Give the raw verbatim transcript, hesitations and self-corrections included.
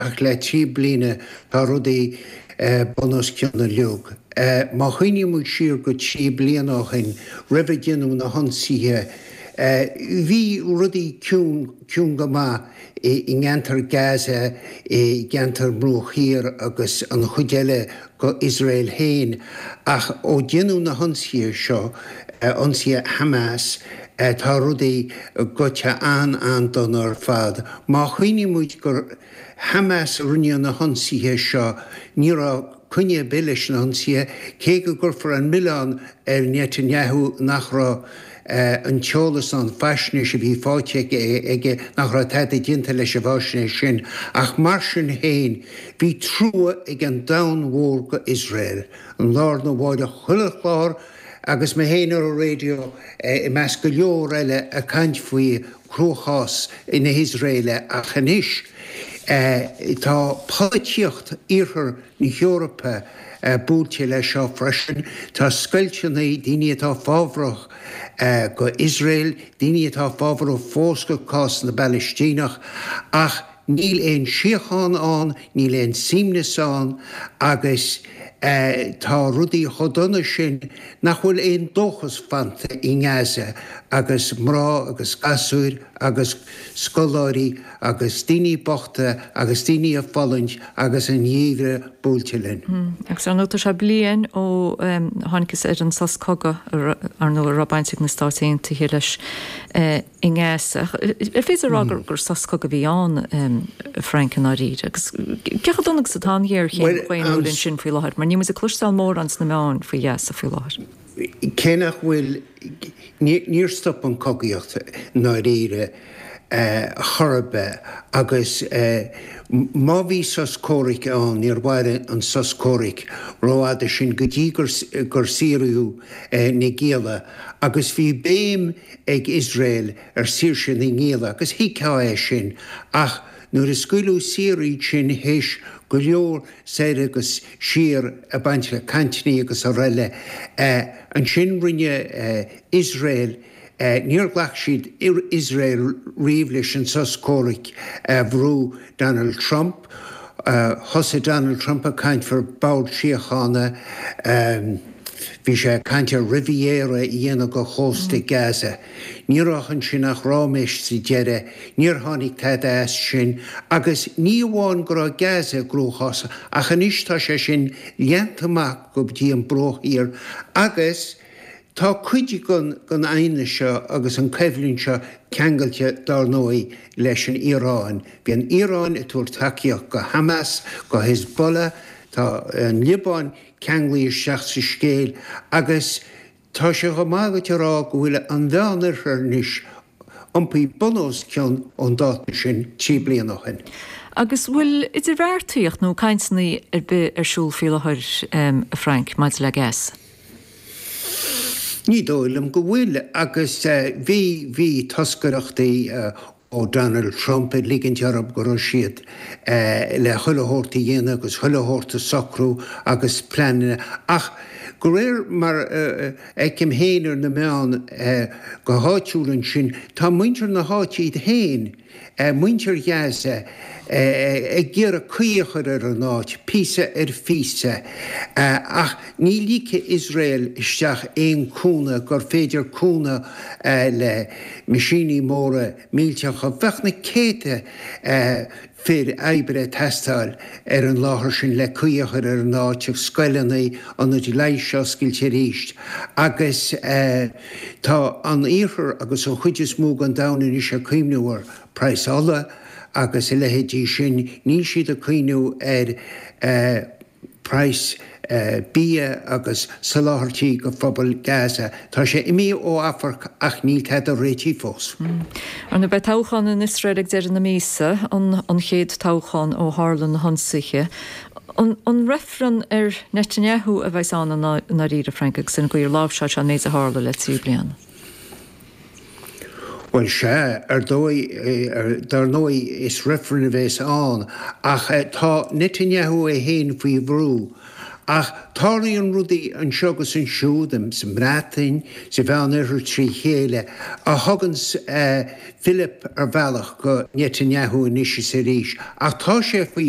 Ach le trí bliana tá rudaí bun os cionn uilig. Má chuimhníonn muid siar go trí bliana ó shin, roimh a deineadh na hionsaithe, bhí rudaí ciúin, ciúin go maith i gceantar Gaza, i gceantar Bruach Thiar agus an chuid eile go Iosrael féin. Ach ó deineadh na hionsaithe seo, ionsaithe Hamas, tá rudaí goite an-an-dona ar fad. Má chuimhníonn muid gur Hamas a rinne na hionsaithe seo, ní raibh coinne ar bith leis na hionsaithe, cé go gcuirfear an milleán ar Netanyahu nach raibh an t-eolas ná an faisnéis a bhí faighte aige, nach raibh tada déanta leis an bhfaisnéis sin. Ach mar sin féin, bhí trua ag an domhan mhór go Iosrael. An lá arna mháireach chuile chlár agus mé féin ar an raidió i measc go leor eile ag caint faoi chruachás na hIosraeile ach anois tá polaitíocht iarthar na hEorpa buailte leis seo freisin. Tá scoilteanna, daoine atá fábhrach go Iosrael, daoine atá fábhrach fós go cás na bPalaistíneach ach níl aon síocháin ann, níl aon suaimhneas ann agus tá rudaí chomh dona sin nach bhfuil aon dóchas fanta i nGaza agus mná agus gasúir agus scoláirí agus daoine bochta agus daoine ag fulaingt agus an geimhreadh buailte linn. Agus ar ndóigh tá sé bliain ó thángthas ar an sos cogaidh ar ndóigh a raibh baint ag na Stáit Aontaithe leis i nGaza. Ar féidir a rá gur sos cogaidh a bhí ann, a Frank, i ndáiríre? Agus cé chomh dona agus atá an ghéarchéim dhaonnúil ansin faoi láthair? Mar níl muid ag cloisteáil mórán sna meáin faoi Ghaza faoi láthair. Cé nach bhfuil, níor stop an chogaíocht i ndáiríre chor ar bith agus má bhí sos comhraic ann, níor mhair an sos comhraic rófhada sin go dtí gur saoradh na gialla agus bhí béim ag Iosrael ar saoirse na ngialla agus thuigfeá é sin ach nuair a scaoileadh saor iad sin théis go leor soir agus siar ag baint le cainteanna agus araile, ansin rinne Iosrael Níor ghlac siad Iosrael riamh leis an sos comhraic a bhrú Donald Trump. Thosaigh Donald Trump ag caint faoi bord síochána. Bhí sé ag caint ar riviera a dhéanamh go chósta Gaza. Ní raibh ansin ach ráiméis sa deireadh. Níor tháinig tada as sin. Agus ní amháin go raibh Gaza i gcruachás ach anois tá sé sin leanta amach go dtí an Bruach Thiar agus Tá cuid den aighneas seo agus an choimhlint seo ceangailte, dár ndóigh, leis an Iaráin. Bhí an Iaráin ag tabhairt tacaíocht go Hamas, go Hezbollah, tá an Liobáin ceanglaithe isteach sa scéal agus tá sé chomh maith agat a rá go bhfuil an Mheánoirthear anois iompaithe bun os cionn ón dáta sin trí bliana ó shin. Agus bhfuil idirbheartaíocht nó cainteanna ar bith ar siúl faoi láthair, a Frank, maidir le Gaza? Ní dóigh liom go bhfuil, agus bhí, bhí toscaireachtaí ó Donald Trump ag ligint orthu go raibh siad le chuile shórt a dhéanamh agus chuile shórt a socrú agus pleananna, ach de réir mar a fheicim féin ar na meáin go háitiúil ansin, tá muintir na háite iad féin, muintir Ghaza ag iarraidh caoi a chur ar an áit, píosa ar phíosa, ach ní ligfidh Iosrael isteach aon cúnamh gur féidir cúnamh le meaisíní móra millteacha. Bheadh na céadta fir oibre ag teastáil ar an láthair sin le caoi a chur ar an áit, scoileanna, ionaid leighis a oscailt arís agus tá an Iarthar agus an chuid is mó den domhan anois ag cuimhniú ar praghas ola agus a leithéidí sin, níl siad ag cuimhniú ar praghas bia agus soláthairtí go phobal Gaza. Tá sé imithe ó amharc ach níl tada réitithe fós. Ar ndóigh beidh toghchán in Iosrael ag deireadh na míosa, an chéad toghchán ó tharla na hionsaithe. An reifreann ar Netanyahu a bheas ann i ndáiríre, Frank, agus an gcaoi ar láimhseáil sé an méid a tharla le trí bliana? Bhuel, sea, ar dóigh, dar ndóigh, is reifreann a bheas ann, ach tá Netanyahu é féin faoi bhrú, Ach tarlaíonn rudaí anseo agus ansiúd sa mBreatain, sa Mheánoirthear trí chéile, a thugann fhilip ar bhealach go Netanyahu anois is arís. Ach tá sé faoi